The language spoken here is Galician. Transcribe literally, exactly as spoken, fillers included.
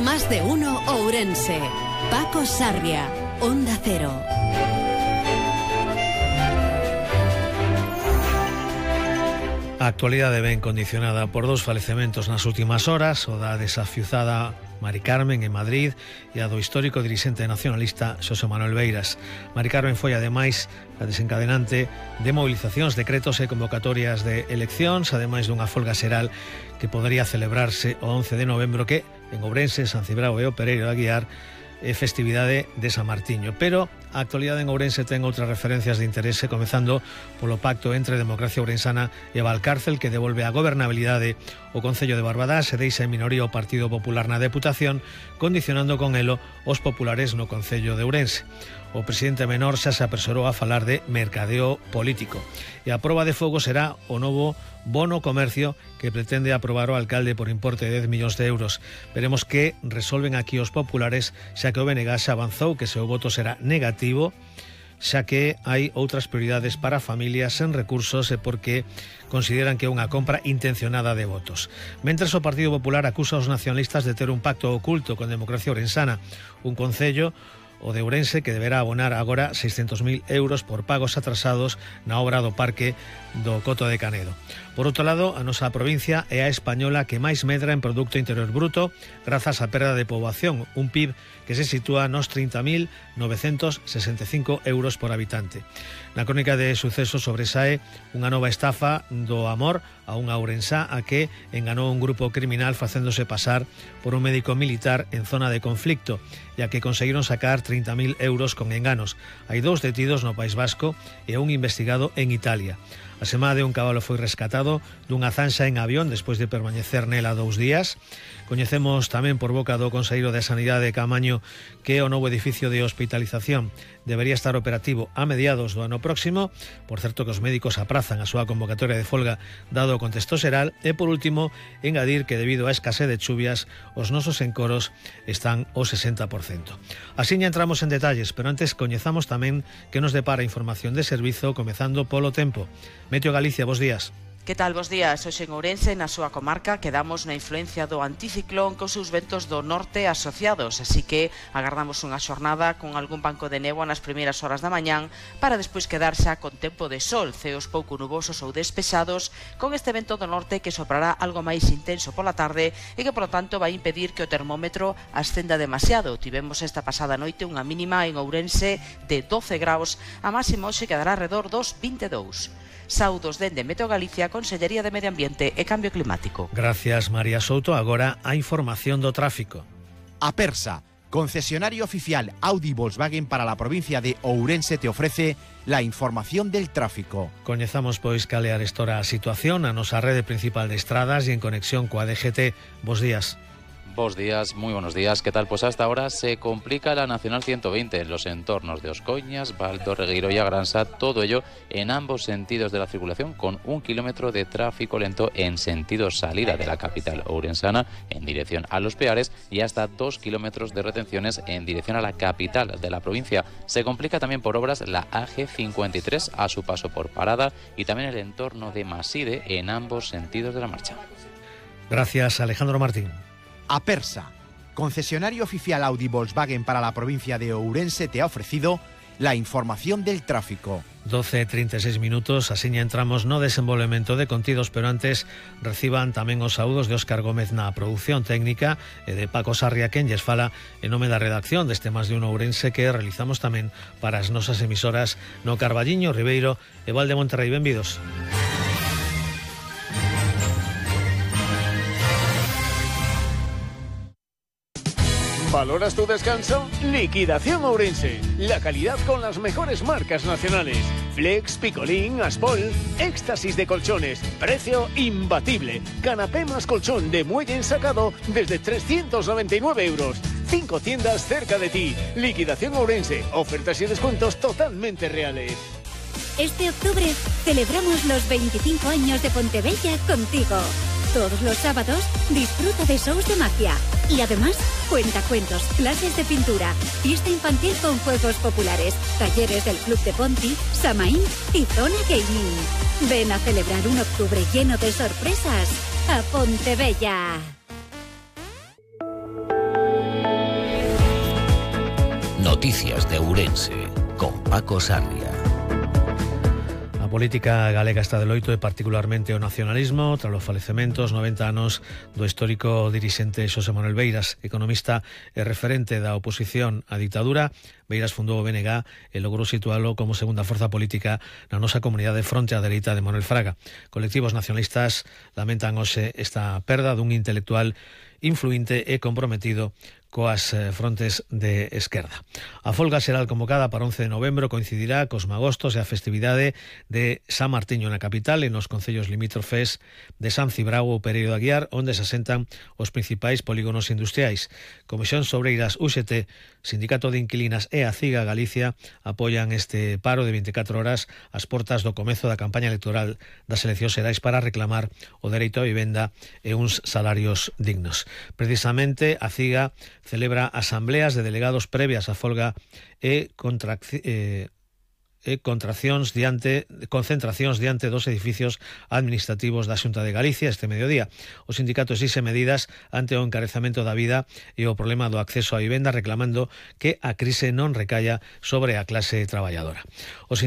Más de uno Ourense. Paco Sarria, Onda Cero. A actualidade ven condicionada por dous falecementos nas últimas horas, o da desafiuzada Mari Carmen en Madrid e a do histórico dirixente nacionalista Xosé Manuel Beiras. Mari Carmen foi ademais a desencadenante de movilizacións, decretos e convocatorias de eleccións, ademais dunha folga xeral que podería celebrarse o once de novembro, que en Ourense, San Cibrao e o Pereiro de Aguiar é festividade de San Martiño. Pero a actualidade en Ourense ten outras referencias de interese, comezando polo pacto entre Democracia Ourensana e Valcárcel, que devolve a gobernabilidade o Concello de Barbadás e deixa en minoría o Partido Popular na Deputación, condicionando con elo os populares no Concello de Ourense. O presidente menor xa se apresurou a falar de mercadeo político. E a proba de fogo será o novo bono comercio que pretende aprobar o alcalde por importe de dez millóns de euros. Veremos que resolven aquí os populares, xa que o B N G xa avanzou que seu voto será negativo, xa que hai outras prioridades para familias sen recursos e porque consideran que é unha compra intencionada de votos. Mentres o Partido Popular acusa aos nacionalistas de ter un pacto oculto con Democracia Ourensana, un concello, o de Ourense, que deberá abonar agora seiscentos mil euros por pagos atrasados na obra do parque do Coto de Canedo. Por outro lado, a nosa provincia é a española que máis medra en Producto Interior Bruto grazas á perda de poboación, un P I B que se sitúa nos trinta mil novecentos sesenta e cinco euros por habitante. Na crónica de sucesos sobresae unha nova estafa do amor a unha ourensá a que enganou un grupo criminal facéndose pasar por un médico militar en zona de conflicto, ya que conseguiron sacar trinta mil euros con enganos. Hai dous detidos no País Vasco e un investigado en Italia. A semade un cabalo foi rescatado dunha zanxa en avión despois de permanecer nela dous días. Coñecemos tamén por boca do Conselleiro de Sanidade de Caamaño que o novo edificio de hospitalización debería estar operativo a mediados do ano próximo. Por certo que os médicos aprazan a súa convocatoria de folga dado o contexto xeral. E por último, engadir que debido á escasez de chuvias os nosos encoros están ao sesenta por cento. Así ya entramos en detalles, pero antes coñezamos tamén que nos depara información de servizo, comezando polo tempo. Meteo Galicia, bos días. Que tal, bos días? Hoxe en Ourense, na súa comarca, quedamos na influencia do anticiclón cos seus ventos do norte asociados, así que agardamos unha xornada con algún banco de néboa nas primeiras horas da mañán para despois quedar xa con tempo de sol, ceos pouco nubosos ou despexados, con este vento do norte que soprará algo máis intenso pola tarde e que, polo tanto, vai impedir que o termómetro ascenda demasiado. Tivemos esta pasada noite unha mínima en Ourense de doce graus, a máxima hoxe quedará alrededor dos vinte e dous. Saudos dende Meteo Galicia, Consellería de Medio Ambiente e Cambio Climático. Gracias, María Souto. Agora a información do tráfico. Apersa, concesionario oficial Audi Volkswagen para la provincia de Ourense, te ofrece la información del tráfico. Coñezamos pois cal é arestora a situación a nosa rede principal de estradas e en conexión coa D G T. Bos días. Bos días, muy buenos días. ¿Qué tal? Pues hasta ahora se complica la Nacional ciento veinte en los entornos de Oscoñas, Baldo, Regueiro y Agransa, todo ello en ambos sentidos de la circulación, con un kilómetro de tráfico lento en sentido salida de la capital ourensana en dirección a Los Peares y hasta dos kilómetros de retenciones en dirección a la capital de la provincia. Se complica también por obras la A G cincuenta y tres a su paso por Parada y también el entorno de Maside en ambos sentidos de la marcha. Gracias, Alejandro Martín. Apersa, concesionario oficial Audi Volkswagen para la provincia de Ourense, te ha ofrecido la información del tráfico. doce e trinta e seis minutos, así entramos no desenvolvemento de contidos, pero antes reciban tamén os saúdos de Óscar Gómez na produción técnica e de Paco Sarria, quen lles fala en nome da redacción deste Más de un Ourense que realizamos tamén para as nosas emisoras no Carballiño, Ribeiro e Val de Monterrei. Benvidos. ¿Valoras tu descanso? Liquidación Ourense. La calidad con las mejores marcas nacionales. Flex, Picolín, Aspol. Éxtasis de colchones. Precio imbatible. Canapé más colchón de muelle ensacado desde trescientos noventa y nueve euros. Cinco tiendas cerca de ti. Liquidación Ourense. Ofertas y descuentos totalmente reales. Este octubre celebramos los veinticinco años de Pontebella contigo. Todos los sábados disfruta de shows de magia. Y además, cuentacuentos, clases de pintura, fiesta infantil con juegos populares, talleres del Club de Ponti, Samaín y Zona Gaming. Ven a celebrar un octubre lleno de sorpresas a Pontebella. Noticias de Ourense, con Paco Sarria. A política galega está de loito e particularmente o nacionalismo tras os falecementos noventa anos do histórico dirixente Xosé Manuel Beiras, economista e referente da oposición á dictadura. Beiras fundou o B N G e logrou situalo como segunda forza política na nosa comunidade fronte á dereita de Manuel Fraga. Colectivos nacionalistas lamentan hoxe esta perda dun intelectual influinte e comprometido coas frontes de esquerda. A folga será convocada para once de novembro, coincidirá cos magostos e a festividade de San Martiño na capital e nos concellos limítrofes de San Cibrao ou Pereiro de Aguiar, onde se asentan os principais polígonos industriais. Comisións Obreiras U X T, Sindicato de Inquilinas e a CIGA Galicia apoian este paro de vinte e catro horas ás portas do comezo da campaña electoral das eleccións xerais para reclamar o dereito á vivenda e uns salarios dignos. Precisamente a CIGA celebra asambleas de delegados previas á folga e contracción eh, e contraccións diante, concentracións diante dos edificios administrativos da Xunta de Galicia este mediodía. O sindicato exixe medidas ante o encarecemento da vida e o problema do acceso á vivenda, reclamando que a crise non recaia sobre a clase traballadora. O